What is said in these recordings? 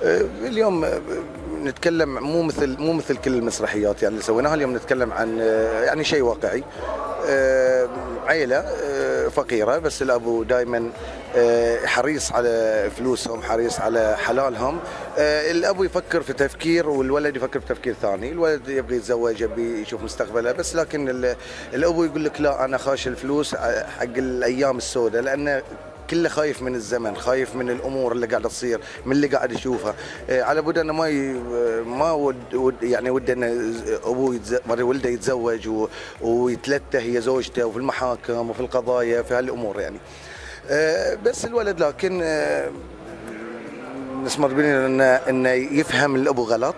اليوم نتكلم مو مثل كل المسرحيات يعني اللي سويناها. اليوم نتكلم عن يعني شيء واقعي. عيلة فقيرة بس الأبو دائما حريص على فلوسهم، حريص على حلالهم. الأبو يفكر في تفكير والولد يفكر في تفكير ثاني. الولد يبغي يتزوج، يبغي يشوف مستقبله، بس لكن الأبو يقول لك لا، أنا خاش الفلوس حق الأيام السوداء، لأنه كله خايف من الزمن، خايف من الامور اللي قاعده تصير، من اللي قاعد يشوفها. على بد انه ما يعني وده انه ابوه ولده يتزوج ويتلته هي زوجته، وفي المحاكم وفي القضايا في هالامور يعني. بس الولد لكن نسمر بيننا انه يفهم الابو غلط،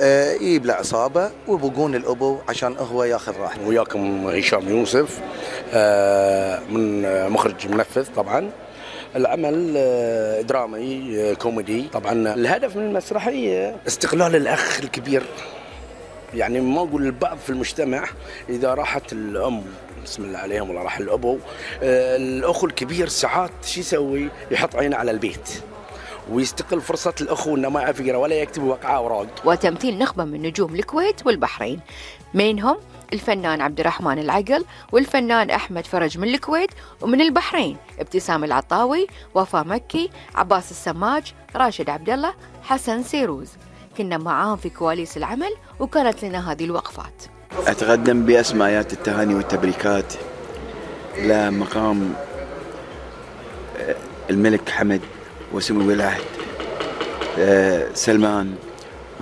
يجيب له عصابه ويبقون الابو عشان هو ياخذ راحته. وياكم هشام يوسف، من مخرج منفذ. طبعا العمل درامي كوميدي. طبعا الهدف من المسرحيه استقلال الاخ الكبير. يعني ما اقول البعض في المجتمع اذا راحت الام بسم الله عليهم ولا راح الابو، الاخ الكبير ساعات شو يسوي؟ يحط عينه على البيت ويستقل فرصة الأخو إنه ما يعرف يقرأ ولا يكتب وقعة أوراق. وتمثيل نخبة من نجوم الكويت والبحرين، منهم الفنان عبد الرحمن العقل، والفنان أحمد فرج من الكويت، ومن البحرين ابتسام العطاوي، وفاء مكي، عباس السماج، راشد عبد الله، حسن سيروز. كنا معاهم في كواليس العمل وكانت لنا هذه الوقفات. أتقدم بأسمايات التهاني والتبريكات لمقام الملك حمد وسمو العهد سلمان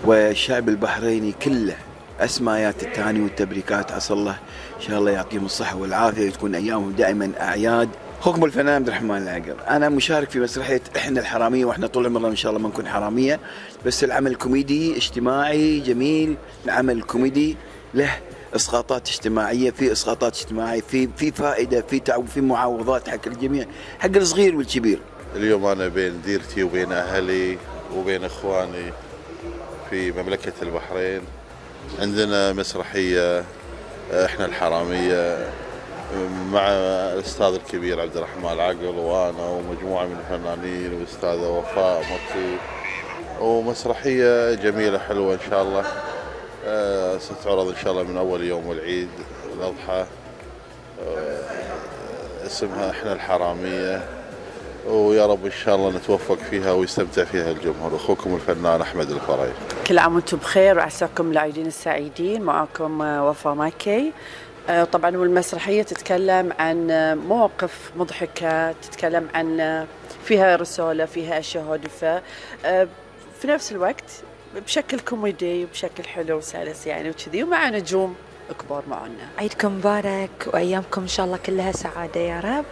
والشعب البحريني كله. أسمايات التهاني والتبريكات، عسى الله إن شاء الله يعطيهم الصحة والعافية وتكون أيامهم دائما أعياد. أخوكم الفنان عبد الرحمن العقل، أنا مشارك في مسرحية إحنا الحرامية، وإحنا طول عمرنا إن شاء الله ما نكون حرامية، بس العمل كوميدي اجتماعي جميل. العمل كوميدي له اسقاطات اجتماعيه، في اسقاطات اجتماعيه، في فائده، في معاوضات حق الجميع، حق الصغير والكبير. اليوم انا بين ديرتي وبين اهلي وبين اخواني في مملكه البحرين. عندنا مسرحيه احنا الحراميه مع الاستاذ الكبير عبد الرحمن العقل وانا ومجموعه من الفنانين والاستاذه وفاء مكي، ومسرحيه جميله حلوه ان شاء الله. ستعرض ان شاء الله من اول يوم العيد الاضحى. اسمها احنا الحراميه، ويا رب ان شاء الله نتوفق فيها ويستمتع فيها الجمهور. اخوكم الفنان احمد الفرج. كل عام وانتم بخير وعساكم العيدين السعيدين. معكم وفاء مكي. طبعا والمسرحيه تتكلم عن مواقف مضحكه، تتكلم عن فيها رساله، فيها اشياء هادفه، في نفس الوقت بشكل كوميدي وبشكل حلو وسلس يعني وكذي، ومع نجوم كبار معنا. عيدكم مبارك وايامكم ان شاء الله كلها سعاده يا رب.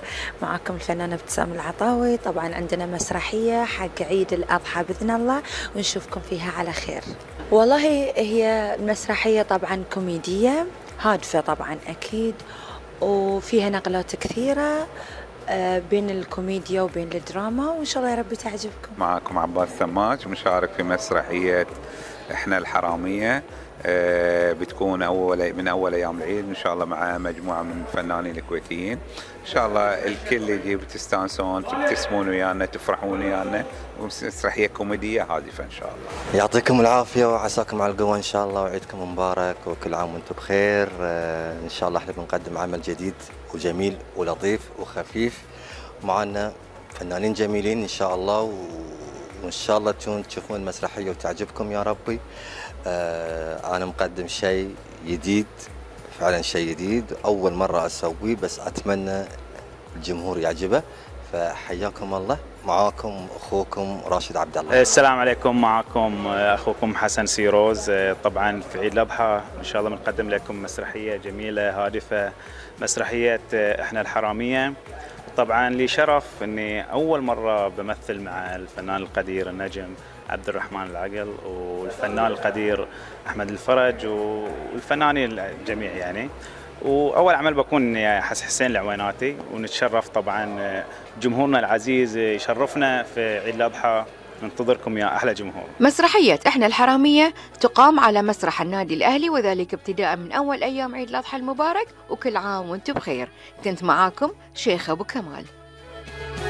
معكم الفنانه ابتسام العطاوي. طبعا عندنا مسرحيه حق عيد الاضحى باذن الله ونشوفكم فيها على خير. والله هي المسرحيه طبعا كوميديه هادفه طبعا اكيد، وفيها نقلات كثيره بين الكوميديا وبين الدراما، وإن شاء الله يا رب تعجبكم. معكم عباس السماج، مشارك في مسرحية إحنا الحرامية. بتكون من أول أيام العيد إن شاء الله مع مجموعة من الفنانين الكويتيين. إن شاء الله الكل يجي تستانسون، تبتسمون ويانا، تفرحون ويانا. مسرحية كوميدية هادفة إن شاء الله. يعطيكم العافية وعساكم على القوة إن شاء الله، وعيدكم مبارك وكل عام وأنتم بخير. إن شاء الله إحنا بنقدم عمل جديد وجميل ولطيف وخفيف، معنا فنانين جميلين إن شاء الله، وإن شاء الله تشوفون المسرحية وتعجبكم يا ربي. أنا مقدم شيء جديد، فعلا شيء جديد أول مرة أسويه، بس أتمنى الجمهور يعجبه. فحياكم الله. معاكم أخوكم راشد عبد الله. السلام عليكم. معكم أخوكم حسن سيروز. طبعا في عيد الأضحى إن شاء الله بنقدم لكم مسرحية جميلة هادفة، مسرحية إحنا الحرامية. طبعا لي شرف أني أول مرة بمثل مع الفنان القدير النجم عبد الرحمن العقل والفنان القدير أحمد الفرج والفنانين الجميع يعني. وأول عمل بكون حسين العويناتي، ونتشرف طبعا جمهورنا العزيز يشرفنا في عيد الأضحى. ننتظركم يا أحلى جمهور. مسرحية إحنا الحرامية تقام على مسرح النادي الأهلي، وذلك ابتداء من أول أيام عيد الأضحى المبارك، وكل عام وانتم بخير. كنت معاكم شيخ أبو كمال.